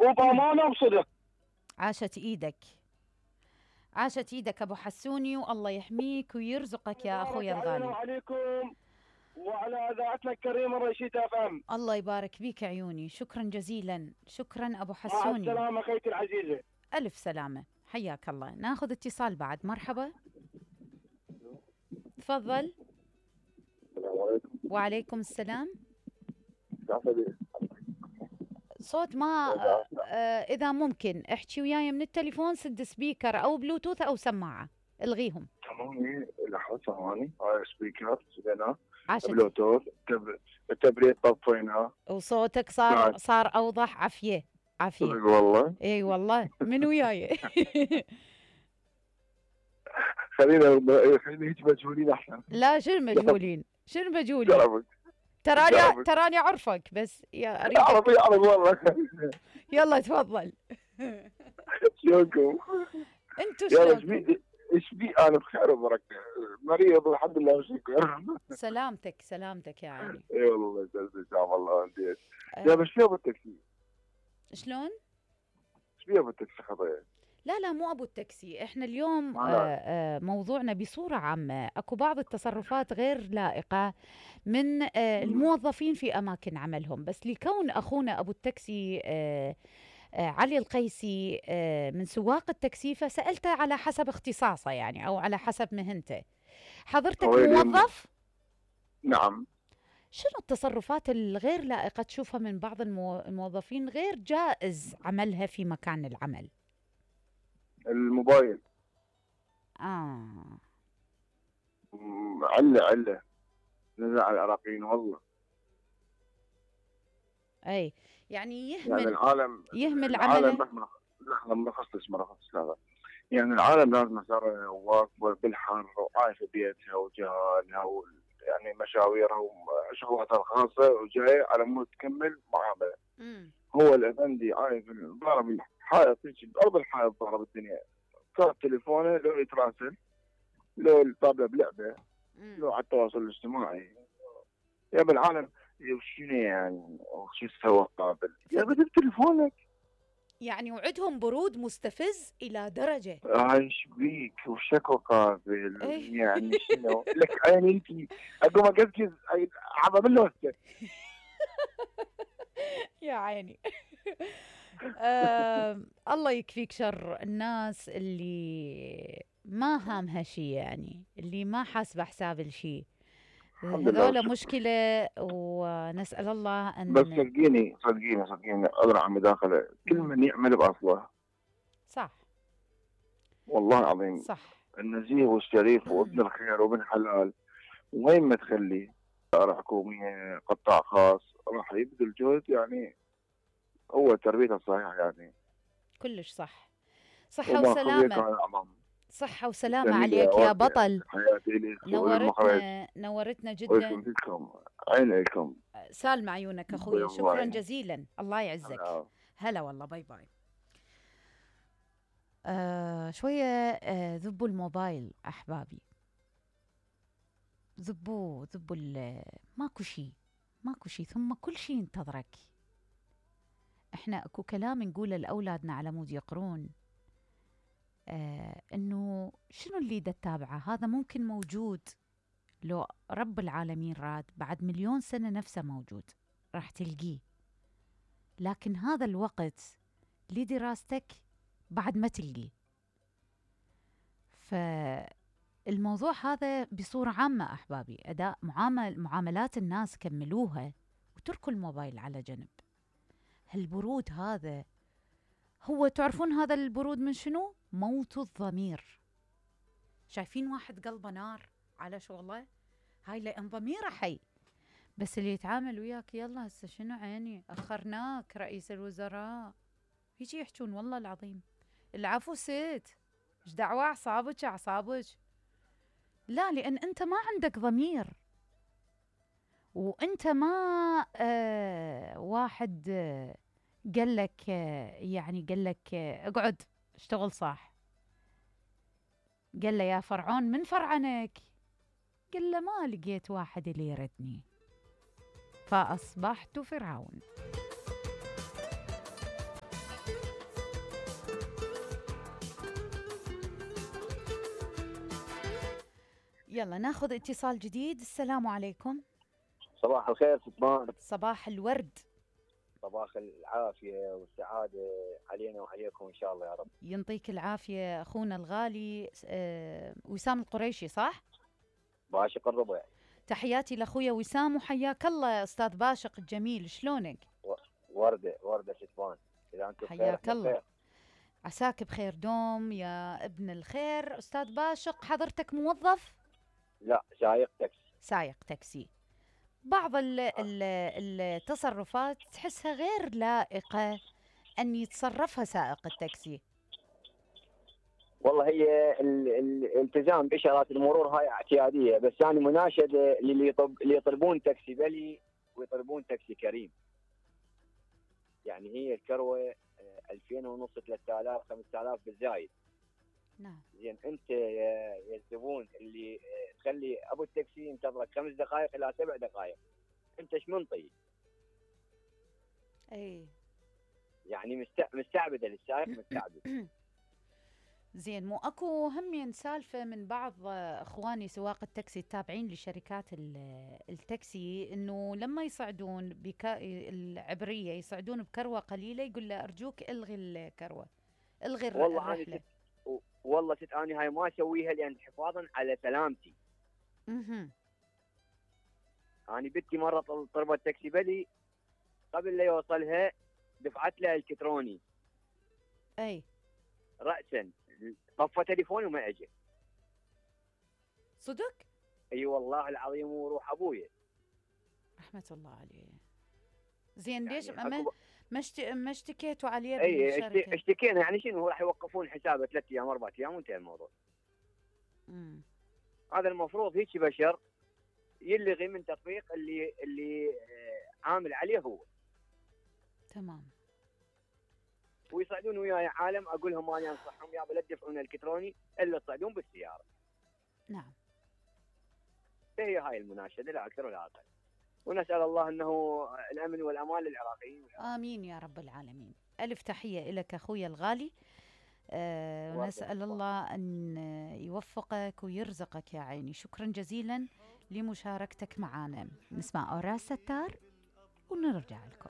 وبامانه وصدق. عاشت ايدك، عاشت ايدك ابو حسوني، والله يحميك ويرزقك يا اخوي الغالي. وعليكم وعلى اذاعتنا الكريمه رشيدة FM. الله يبارك بيك عيوني، شكرا جزيلا، شكرا ابو مع حسوني. السلامه اخيتي العزيزه. الف سلامه، حياك الله. ناخذ اتصال بعد. مرحبا، تفضل. السلام عليكم. وعليكم السلام. صوت ما اذا ممكن احكي وياي من التليفون، سد سبيكر او بلوتوث او سماعه، الغيهم. تمام. لحظه ثواني. هاي سبيكر زينه، عاشت. بلوتوث، التبريد طفيناه وصوتك صار اوضح. عافيه عافيه والله. اي والله من وياي. خلينا هيك مجهولين احسن. لا شنو مجهولين، شنو مجهولين؟ تراني عرفك بس يا اريد. اعرف والله. يلا تفضل. شلونكم؟ انتو شلونكم؟ ايش بي؟ انا بخير وبركه، مريض والحمد لله وشكرا. سلامتك يا عيني. اي والله ان شاء الله. انت يا بس شو ابو التاكسي؟ شلون؟ ايش بي ابو التاكسي خطيه؟ لا مو ابو التاكسي، احنا اليوم موضوعنا بصوره عامه. اكو بعض التصرفات غير لائقه من الموظفين في اماكن عملهم، بس لكون اخونا ابو التاكسي علي القيسي من سواق التاكسي، فسالته على حسب اختصاصه يعني، او على حسب مهنته. حضرتك موظف؟ نعم. شنو التصرفات الغير لائقه تشوفها من بعض الموظفين غير جائز عملها في مكان العمل؟ الموبايل علة نزع على العراقيين والله. اي يعني يعني العالم عمله. لحظة ما خصص هذا. يعني العالم لازم صار واقفة بالحر وعايشة بيتها وجيرانها يعني مشاويرها وشغلاتها الخاصة وجاية على مود تكمل معاملة. هو الأفندي عايش ضارب الحائط، بأرض الحائط ضارب الدنيا. صار تليفونه لو يتراسل، لو يطابله بلعبة، لو على التواصل الاجتماعي. يا بالعالم شنو يعني شو سوى قابل؟ يا بدك تليفونك يعني وعدهم برود مستفز إلى درجة. ايش بيك وشكو قابل؟ يعني شنو لك عيني انت اقوم اقزقز عبا من لوسته. يا عيني. الله يكفيك شر الناس اللي ما هامها شيء، يعني اللي ما حاسبه حساب الشيء. هذول مشكلة، ونسأل الله أن بس صدقيني أدرى عن مداخلة. كل من يعمل بأصله. صح والله العظيم. صح. النزيه والشريف وابن الخير وابن حلال، وين ما تخلي إدارة حكومية قطاع خاص راح يبذل جهد. يعني هو تربيته الصحيحة يعني كلش صح. صحة وسلامة. صحة وسلامة عليك يا بطل. نورتنا جدا. عينيكم سالم عيونك اخوي. شكرا جزيلا، الله يعزك. هلا والله. باي باي. شوية ذبوا الموبايل أحبابي، ذبوا ماكو شي ثم كل شي ينتظرك. احنا اكو كلام نقوله لأولادنا على مود يقرون، انه شنو اللي دا تتابعه؟ هذا ممكن موجود لو رب العالمين راد بعد 1,000,000 سنة نفسه موجود، راح تلقيه. لكن هذا الوقت لدراستك بعد ما تلقيه. فالموضوع هذا بصورة عامة أحبابي، أداء معاملات الناس كملوها وتركوا الموبايل على جنب. هالبرود هذا، هو تعرفون هذا البرود من شنو؟ موت الضمير. شايفين واحد قلبه نار على شغله، هاي لأن ضميره حي. بس اللي يتعامل وياك يلا هسه شنو عيني أخرناك رئيس الوزراء، يجي يحجون والله العظيم العفو ست، ايش دعوة أعصابك. لا، لأن أنت ما عندك ضمير، وأنت ما واحد قال لك اقعد اشتغل صح. قال له يا فرعون من فرعنك؟ قال له ما لقيت واحد اللي يردني فأصبحت فرعون. يلا ناخذ اتصال جديد. السلام عليكم. صباح الخير ستمان. صباح الورد. صباح العافية والسعادة علينا وعليكم إن شاء الله يا رب. ينطيك العافية أخونا الغالي وسام القريشي، صح؟ باشق الربع. تحياتي لأخويا وسام وحياك الله أستاذ باشق الجميل، شلونك؟ وردة ستمان. إذا أنتم حياك الله، عساك بخير دوم يا ابن الخير. أستاذ باشق حضرتك موظف؟ لا، سايق تاكسي. سايق تاكسي. بعض التصرفات تحسها غير لائقة أن يتصرفها سائق التاكسي. والله هي الالتزام بإشارات المرور هاي اعتيادية، بس يعني مناشدة اللي يطلبون تاكسي بلي ويطلبون تاكسي كريم. يعني هي الكروة 2000 ونص 3000 5000 بالزايد. نعم. زين انت يا الزبون اللي تخلي ابو التاكسي ينتظرك 5 دقائق الى 7 دقائق، انت ايش منطي؟ اي يعني مستعبده للسائق، مستعبد. زين، مو اكو همين سالفه من بعض اخواني سواق التاكسي التابعين لشركات التاكسي، انه لما يصعدون العبريه يصعدون بكروه قليله، يقول له ارجوك الغي الكروه، الغي الرحله. والله انا هاي ما اسويها لان حفاظا على سلامتي. انا بنتي مره طلبت تاكسي بلي، قبل لا يوصلها دفعت له الكتروني. اي راسا طفى تليفوني وما اجى. صدق؟ اي والله العظيم، وروح ابويا رحمه الله عليه. زين يعني ليش ما اشتكيتوا عليه بالشركه؟ اي اشتكينا. يعني شنو، راح يوقفون حسابه 3 ايام 4 ايام وانتهى الموضوع. هذا المفروض هيك بشر يلغي من تطبيق اللي عامل عليه هو. تمام. ويصعدون وياي عالم اقول لهم انا انصحهم يا لا تدفعون الكتروني الا تصعدون بالسياره. نعم. هي هاي المناشده لا اكثر ولا اقل. ونسال الله انه الامن والامان للعراقيين. امين يا رب العالمين. الف تحيه لك اخوي الغالي. ونسال الله ان يوفقك ويرزقك يا عيني. شكرا جزيلا لمشاركتك معنا. نسمع أوراس ستار ونرجع لكم.